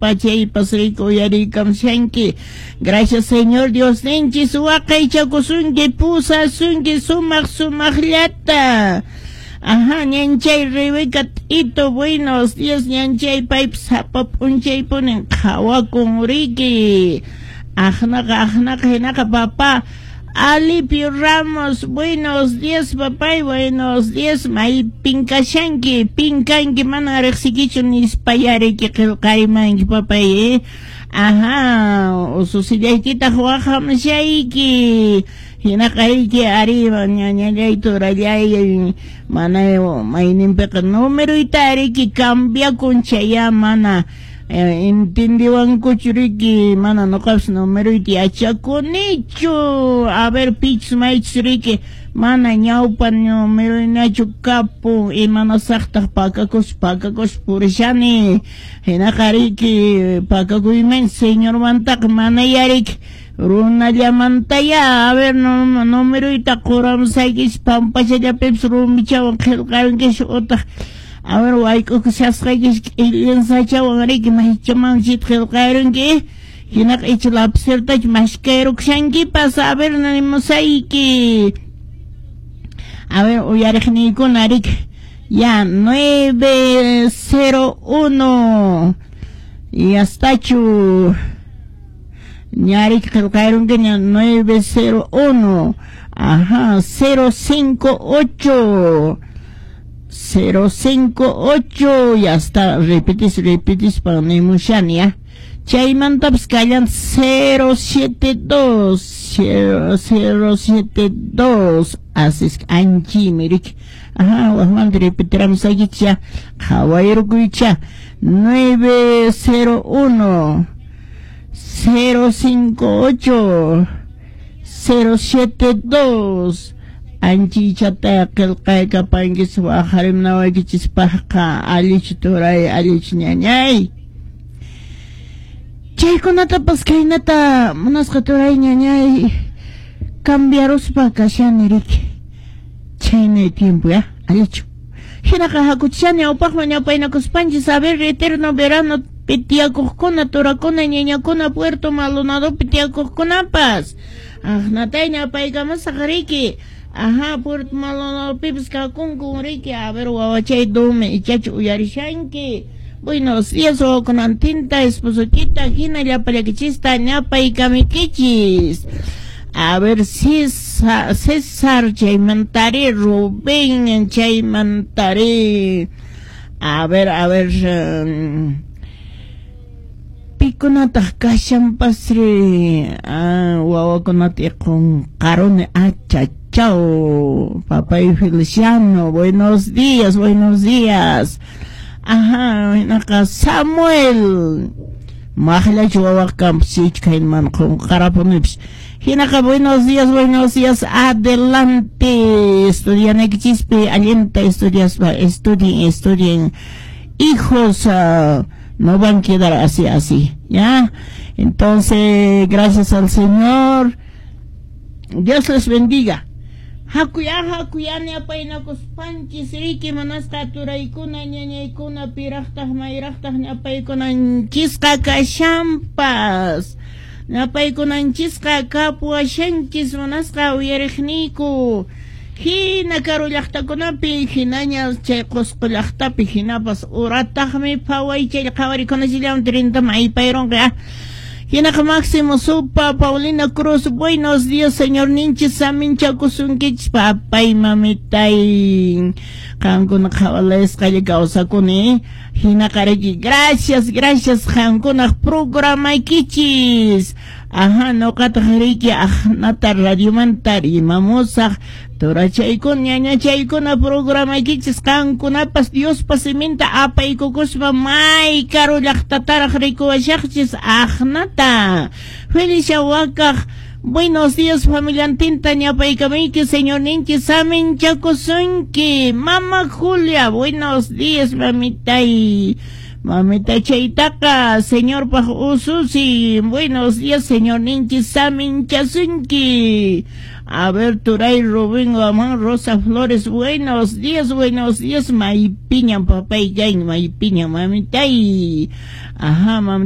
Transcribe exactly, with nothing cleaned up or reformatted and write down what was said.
Pachaypas riki uyariykamshanki. Gracias, Señor Dios ninchis waqaychakusunki, pusasunki sumaq sumaqllata. Ajá, ñanchay Rebeca Tito, buenos días, ñanchay paypas sapa p'unchaypunin qhawakun riki. Aqnaqa, aqnaqa, hinaqa papá Alipio Ramos, buenos días, papay, buenos días, maypin kashanki, pinkanki, mana riqsikichu nispayariki qillqarimanki, papay, eh? Ajá, ususillaykitaq waqhamshayki. Hinaqa riki arriba ñañallay turallay, mana mayninpiqa numeruyta riki cambiakun chaya mana eh, entendiwankuchu riki, mana nuqapas numeruyta yachakunichu. A ver, pichus maychus riki mana ñawpa numeruynachu kapun, imanasaqtaq pakakus pakakus purishani. Hinaqa riki pakakuyman señormantaqa mana yariki runallamantaya. A ver, no, numeruyta quramsaykichis pampachallapipas rumichawan qillqarunkis utaq a ver, wayk'ukushasqaykis k'illinsachawan riki maychamanchita qillqarunki. Hinaqa icha lapicetachu mashkayrukushankipas. A ver, nimusayki. A ver, uyariqniykuna riki ya nueve cero uno y hastachu ña riki qillqarunki ña nueve cero uno, ajá, cero cinco ocho cero cinco ocho, ya está, repetis, repetis para nimushani, ya. Chaymantapas kallan cero siete dos, cero, cero siete dos, así es, anchimi riki. Ajá, wajmanta repetiramos aquí ya, qhawayrukuycha, nueve cero uno, cero cinco ocho, cero siete dos. Anchichata qillqaykapankis waqharimnawaykichispaqqa allichu turay, allichu ñañay. Chaykunatapas khaynata munasqa turay ñañay cambiaruspa kashani riki. Chhaynay tiempo ya, allichu. Hinaqa hakuchishani awpaqman ñawpaynakuspanchis. A ver, eterno verano pitiyakuqkuna, turakuna, ñañakuna, Puerto Maldonadopi tiyakuqkunapas. Aqnatay ñawpaykamusaq riki. Ajá, Puerto Maldonadopipas kakunku riki. A ver, wawachay dumi ichachu uyarishanki. Buenos días, wawakunantinta, esposochita, hina llapallakichista ñapaykamikichis. A ver, César, César chaymantari, Rubén chaymantari. A ver, a ver, um, pikunataq kashanpasri. Ah, wawakunata qunqaruni. Achachau, papay Feliciano, buenos días, buenos días. Ajá, hinaqa Samuel. Maqllachu wawaq kanpas kayman qunqarapunipis. Hinaqa buenos días, buenos días, adelante. Estudianaykichispi allinta estudiaspa, estudien, estudien. Hijos, uh, no van a quedar así, así, ¿ya? Entonces, gracias al Señor. Dios les bendiga. Hakuya, hakuya, ñapaynakuspanchis riki munasqa turaykuna, ñañaykuna, piraqtaq, mayraqtaq ñapaykunanchisqa kashanpas. Ñapaykunanchisqa kapuwashanchis munasqa uyariqniyku. Hina karu llaqtakunapi, hinaña chay Qusqu llaqtapi, hinapas urataqmi phaway chay qhawarikunachillam trintaman aypayrunqa. Hinaqa Máximo Supa, Paulina Cruz, buenos días, señor ninchis saminchakusunkichis, papay, mamitay. Qankuna qhawalasqalla kawsakuni. Hinaqa riki, gracias, gracias qankunaq programaykichis. Ajá, nuqataq riki aqnata radiomanta rimamusaq. Turachaykuna, ñañachaykuna programaykichis qankunapas Diospa siminta apaykukuspa may karu llaqtataraq rikuwashaqchis aqnata. Felicia Wakaq, buenos días familiantinta ñapaykamayki, señor ninchis saminchakusunki. Mama Julia, buenos días mamitay. Mamitachaytaqa señorpaq ususi. Buenos días, señorninchis saminchasunki. A ver, Turay Rubén Guamán Rosa Flores, buenos días, buenos días. Maypiñam papay gain, maypiñam mamitay. Ajá, mamita.